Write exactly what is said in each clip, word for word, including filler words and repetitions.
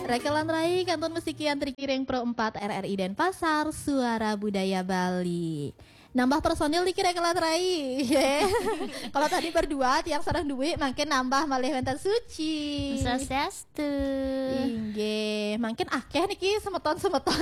Rekelan Rai, kantun mesti kian trikiring Pro empat R R I Denpasar, Suara Budaya Bali. Nambah personil niki Rekelan Rai. Ye. Kalau tadi berdua, tiang sareng duwe, mangkin nambah malih wenten Suci. Swastiastu. Inggih, mangkin akeh niki semeton-semeton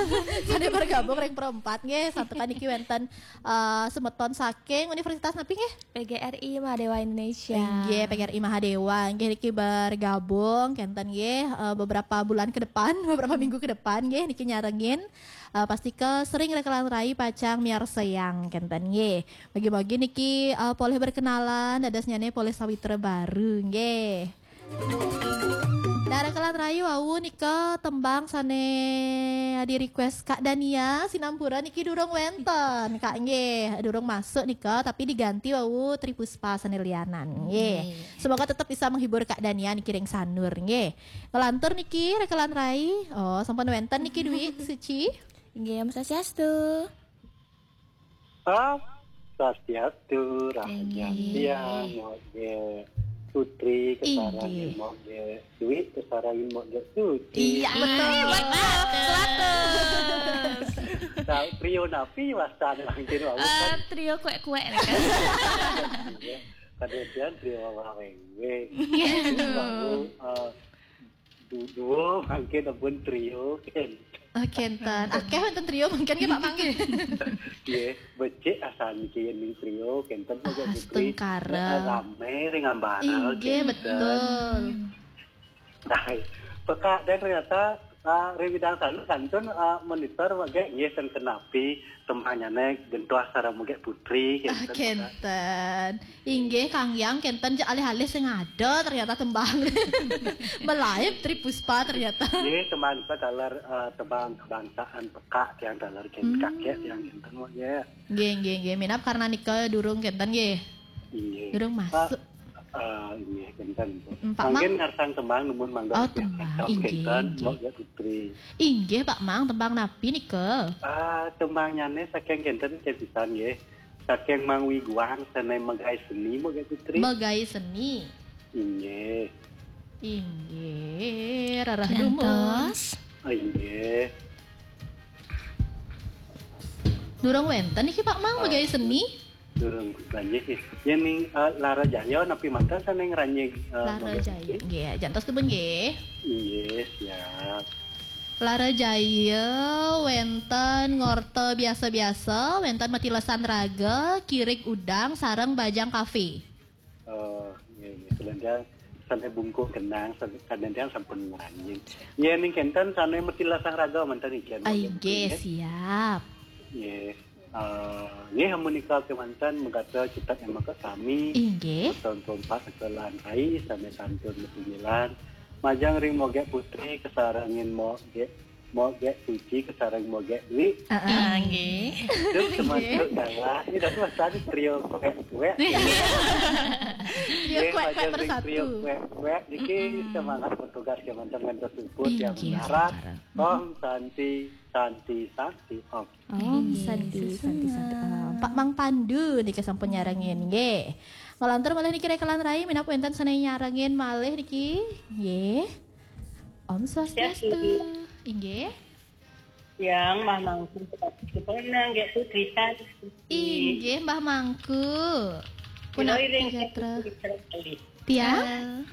sane bergabung ring Pro empat nggih. Santukan niki wenten eh, semeton saking Universitas napi nggih? P G R I Mahadewa Indonesia. Inggih, P G R I Mahadewa. Inggih, niki bergabung kenten nggih, eh, beberapa bulan ke depan, beberapa minggu ke depan nggih, niki nyarengin. Eh, pasti ke sering Rekelan Rai pacang miarsayang kenten nggih. Bagi-bagi niki eh, polih berkenalan, dados nyane polih sawitra baru nggih. Nah, Rekelan Rai, wau nika tembang sane di-request Kak Dania, sinampura niki durung wenten, Kak, nggih, durung masuk nika, tapi diganti wau Tri Puspa sane lianan, nggih. Nggih. Semoga tetap bisa menghibur Kak Dania niki ring sanur, nggih. Ngelantur niki, Rekelan Rai. Oh, sampun wenten niki Dwi Suci. Nggih, Om Swastiastu. Om Swastiastu, rahayu. Inggih. Siang, Moge Putri, kesarengin Inggih. Moge Dwi, kesarengin Moge Suci. Iya, betul. Betul. Nah, trio napi wastan mangkin wau? Eh, trio kuek-kuek nih kan. Iya, kadang trio waweng. Iya. Wau, eh, du-, duo mangkin ampun trio, kan. Oh, kenten. Akeh wenten trio mangkin nggih, Pak Mang, nggih. Nggih, becik asan niki yen ning trio, kenten, Pak, ah, Putri. Setengkara. Heeh, rame ring ambara, inggih, kenten. Betul. Nah, peka dan ternyata, ah, ring bidang sanu kantun, ah, monitor wage nggih ten kenapi tembangnyane gentoh sareng Moge Putri, ah, kenten, Pak. Kenten. Inggih, Kang Yang, kenten ja alih-alih sing ada ternyata tembang. Melaib Tri Puspa ternyata. Nggih, tembang nika taler, eh, tembang kebangsaan peka tiang taler ken hmm. Kakek tiang kenten, Mbok, nggih. Nggih, nggih, nggih. Minab karena nika durung kenten, nggih. Inggih. Durung masuk. Eh, eh, inggih, kenten. Hmm, Pak Mang. Mangkin ngarsang tembang numun mangga. Oh, tembang. Inggih, kenten, inggih. Mbok, ya, Putri. Inggih, Pak Mang, tembang napi nika? Ah, tembangnyane saking kenten, kenten pisan, nggih. Saking Mang Wiguang sane Megai Seni, Mbok, nggih, Putri? Megai Seni. Inggih. Inggih, rarah dumun. Jantos. Ah, inggih. Durung wenten niki, Pak Mang, ah, Megai Seni? Durung banjir sih. Yen ning, eh, Lara Jaya napi manten sane ngranjing, eh, Lara Jaya. Nggih, jantos dumun nggih. Inggih, siap. Lara Jaya wenten ngorta biasa-biasa, wenten Metilesan Raga, Kirik Udang, sareng Bajang Kafe. Oh, nggih, nggih. Kadang sane Bungkuk Genang, sane, kadang sampun ngranjing. Nggih, ning kenten sane Metilesan Raga manten nggih. Ah, inggih, nggih. Siap. Nggih. Eh, nggih, amunika kemanten mengkata kita yang maka sami. Inggih. Tonton Pak Kekelan Rai, sane kantun Metilesan. Majeng ring Moge Putri, kesarengin Moge Moge Suci kesareng Moge Dwi. Heeh. Ah, nggih. Terus termasuk dalam ini dah tuh tadi trio kuek-kuek. Trio kuek-kuek bersatu. Trio kuek-kuek niki semangat bertugas ya mantan ngantos luput yang mengharap. Om Santi, Santi, Santi, Om. Om Santi, Santi, Santi, Om. Pak Mang Pandu niki sampun nyarengin nggih. Ngelantur malih niki Rekelan Rai, minab wenten sane nyarengin malih niki. Nggih. Om Swastiastu. Swastiastu. Inggih. Yang Mbah Mangku, Putri Sempurna, nggih, Putri Santi. Inggih, Mbah Mangku. Punapi gatra. Tiang?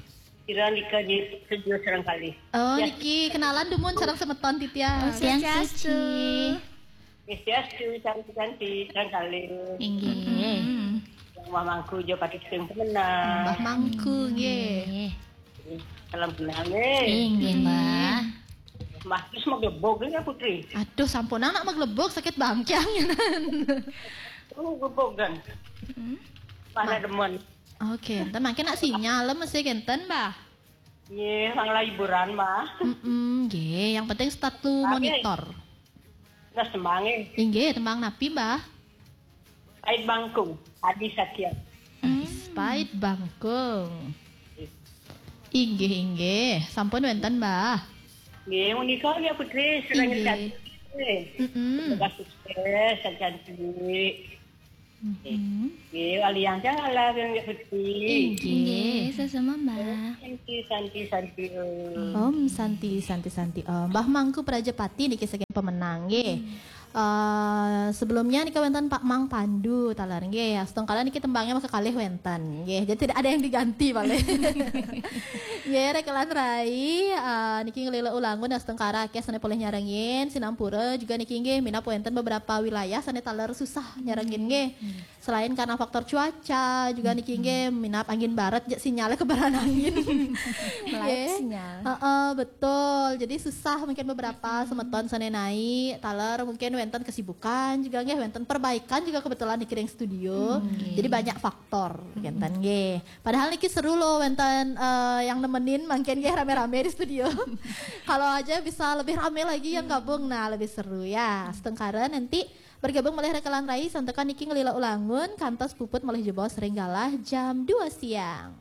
Kira nika di studio sareng kalih. Oh, ya. Niki kenalan dumun sareng semeton titiang. Oh, Swastiastu. Swastiastu, cantik-cantik, sareng kalih. Inggih. Yang Mbah Mangku jo patut sing pemenang. Mbah Mangku, nggih. Salam kenal, nggih. Inggih, Mbah. Mbah, terus maglebog ya, Putri? Aduh, sampun anak maglebog, sakit bangkiang. Oh, glebog kan? Mana demen? Oke, enten mangkin nak sinyal mesti kenten, Mbah. Nggih, sang liburan, Mbah. Mm-mm, nggih, yang penting start to monitor. Nah, tembang, eh. Inggih, tembang napi, Mbah? Pait Bangkung, Adi Satya. Hmm. Pait Bangkung. Inggih, inggih. Sampun wenten, Mbah. Nggih, menika ya, Putri, sedang inggih. Cantik. Mm-mm. Semoga sukses, cantik. Nggih, aliang janganlah yang Gusti. Nggih, sesama Mbah. Santi, santi, santi. Om Santi, Santi, Santi Om. Mbah Mangku Prajapati niki saking Pemenang nggih. Eh, sebelumnya niki wénten Pak Mang Pandu taler nggih. Astungkara niki tembangnya maka kalih wénten nggih. Jadi tidak ada yang diganti paling. Nggih, Rekelan Rai eh, niki ngelila ulangun astungkara akeh sané polih nyarengin, sinampura juga niki nggih minab wénten beberapa wilayah sané taler susah nyarengin nggih. Selain karena faktor cuaca juga niki nggih minab angin barat ja sinyalnya kebaran angin. Melalap sinyal. Heeh, betul. Jadi susah mungkin beberapa semeton sané naik, taler mungkin wénten kesibukan juga nggih, wénten perbaikan juga kebetulan di Kiring Studio. Jadi banyak faktor wénten nggih. Padahal niki seru loh wénten eh, yang nemenin mungkin nggih rame-rame di studio. Kalau aja bisa lebih rame lagi yang gabung, nah lebih seru ya. Astungkara nanti bergabung oleh Rekelan Rai santukan niki ngelila ulangun kantos puput malih jebos ring galah jam dua siang.